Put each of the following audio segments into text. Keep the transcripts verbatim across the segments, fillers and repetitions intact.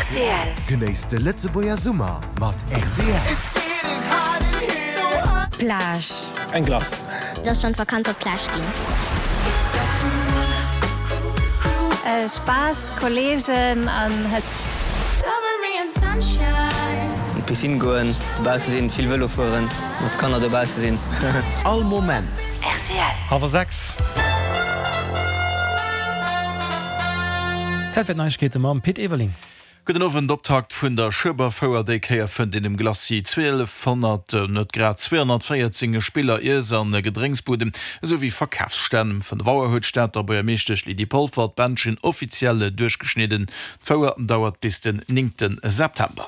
Rtl. Genéisst de Lëtzebuerger Summer mat rtl. Plage. Eng Glace. Et ass schonn d'Vakanz op d'Plage ginn. Spaass, Kolleegen an Hëtzt. An d'Piscine goen, dobausse sinn, vill Vëlo fueren, mat Kanner dobausse sinn. All Moment. Rtl. Hallwer sechs. Zäit fir d'Neiegkeete mam Pit Everling. Gudden Owend. Optakt vun der Schueberfouer, déi Kéier fënnt een um Glacis zwielefhonnert, net grad zweehonnertvéierzéng Spiller, Iess an Gedrénksbuden esou wéi Verkafsstänn. Um fënnef Auer huet d'Stater Buergermeeschtesch Lydie Polfer d'Bändchen offiziell duerchgeschnidden. D'Fouer dauert bis den néngte September.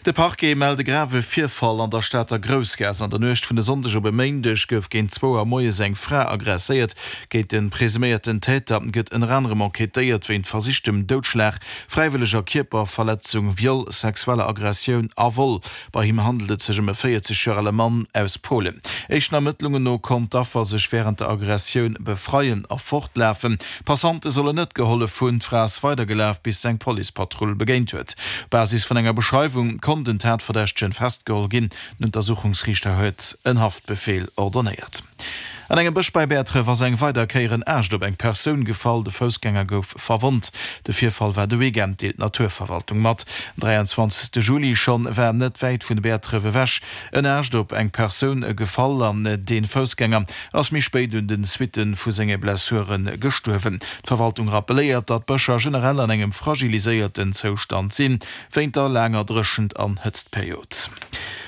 De Parquet mellt e grave Virfall an der Stater Groussgaass. An der Nuecht vun e Sonndeg op e Méindeg gouf géint zwou Auer moies eng Fra aggresséiert. Géint de presuméierten Täter gëtt ënner anerem enquêtéiert wéint versichtem Doudschlag, fräiwëlleger Kierperverletzung, Viol, sexueller Aggressioun a Vol. Bei him handelt et sech ëm e véierzeg Joer ale Mann aus Polen. Éischten Ermëttlungen no konnt d'Affer sech wärend der Aggressioun befreien a fortlafen. Passante sollen net gehollef hunn. D'Fra ass weidergelaf, bis s'eng Policepatrull begéint huet. Op Basis vun enger Beschreiwung konnt den Tatverdächtegen festgeholl ginn. Den Untersuchungsriichter huet en Haftbefeel ordonnéiert. An engem Bësch bei Bäertref ass eng weider Kéier en Aascht op eng Persoun gefall. De Foussgänger gouf verwonnt. De Virfall war de Weekend, deelt d'Naturverwaltung mat. Am dräianzwanzegste Juli schonn war net wäit vun Bäertref ewech en Aascht op eng Persoun gefall an dee Foussgänger ass méi spéit un de Suitte vu senge Blessure gestuerwen. D'Verwaltung rappelléiert, datt d'Bëscher generell an engem fragiliséierten Zoustand sinn, wéint der laanger Dréchent an Hëtztperiod.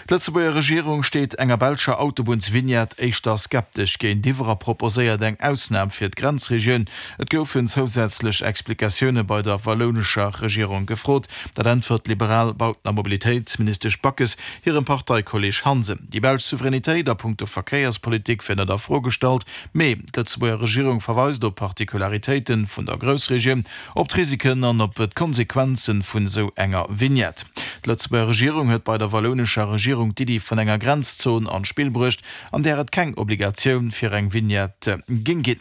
D'Lëtzebuerger Regierung steet enger belscher Autobunnsvignette éischter skeptesch géintiwwer a proposéiert eng Ausnam fir d'Grenzregioun. Et goufen zousätzlech Explikatioune bei der wallounescher Regierung gefrot. Dat äntwert d'liberal Bauten a Mobilitéitsministesch Backes hirem Parteikolleeg Hansen. Déi belsch Souveränitéit a punkto Verkéierspolitik wier net a Fro gestallt, mee d'Lëtzebuerger Regierung verweist op d'Particularitéite vun der Groussregioun, op d'Risiken an op d'Konsequenze vun esou enger Vignette. D'Lëtzebuerger Regierung huet bei der wallounescher Regierung d'Iddi vun enger Grenzzon an d'Spill bruecht, an där et keng Obligatioun fir eng Vignette géing ginn.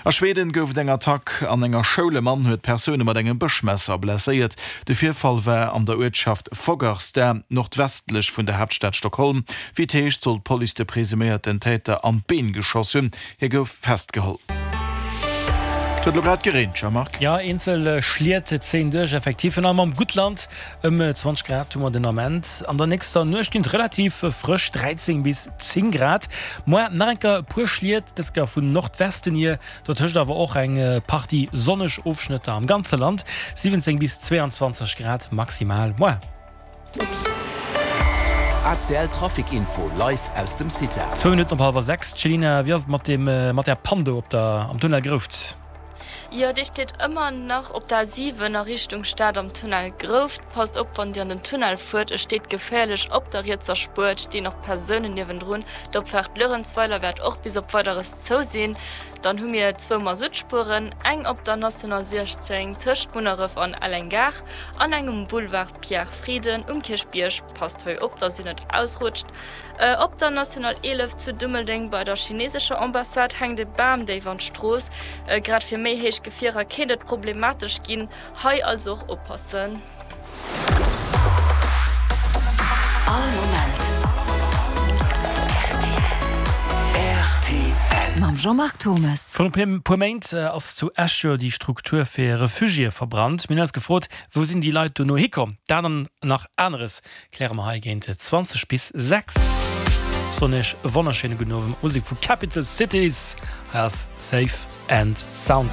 A Schweden gouf et eng Attack an enger Schoul. E Mann huet Persoune mat engem Bëschmesser blesséiert. De Virfall war an der Uertschaft Fagersta, nordwestlech vun der Haaptstad Stockholm. Wéi et heescht, soll d'Police de presuméierten Täter an d'Been geschoss hunn. Hie gouf festgeholl. Et huet elo grad gereent, Jean-Marc. Jo, eenzel Schliet zéien duerch, effektiv. Virun allem am Guttland ëm zwanzeg Grad hu mer den Ament. An der nächster Nuecht ginn et relativ frësch dräizéng bis zéng Grad. Moar nach eng Kéier e puer Schliet, dës Kéier vun Nordwesten hier, dotëscht awer och eng Partie sonneg Ofschnëtter am ganze Land. siwwenzéng bis zweeanzwanzeg Grad maximal moar. Ups. A C L Trafic Info live aus dem CITA. Zwou Minutten op hallwer sechs. Céline, wéi ass et mat dem mat där Pann do op der am Tunnel Grouft? Jo, déi steet ëmmer nach op der A siwen a Richtung Stad am Tunnel Grouft. Passt op wann Dir an den Tunnel fuert, e steet geféierlech op der rietser Spuer, et stinn och Persounen niewendrun. D'Opfaart Luerenzweiler wäert och bis op Weideres zou sinn. Dann hu mir zwou Masuttspueren, eng op der National siechzéng tëscht Munneref an Elleng-Gare an eng um Boulevard Pierre Frieden um Kierchbierg. Passt hei op, dass Dir net ausrutscht. Op der National eelef zu Dummeldeng bei der chinesescher Ambassade hänkt e Bam déif an d'Strooss. Grad fir méi héich Gefierer kéint et problematesch ginn. Hei also och oppassen. All Moment rtl. Mam Jean-Marc Thommes. Virun e puer Méint ass zu Esch jo déi Struktur fir Refugiéë verbrannt. Mir hunn eis gefrot, wou sinn déi Leit dono hikomm? Dat an nach aneres kläre mer hei géint zwanzeg bis sechs. Ech soen iech e wonnerschéine gudden Owend mat Musek vu Capital Cities. Hei ass Safe and Sound.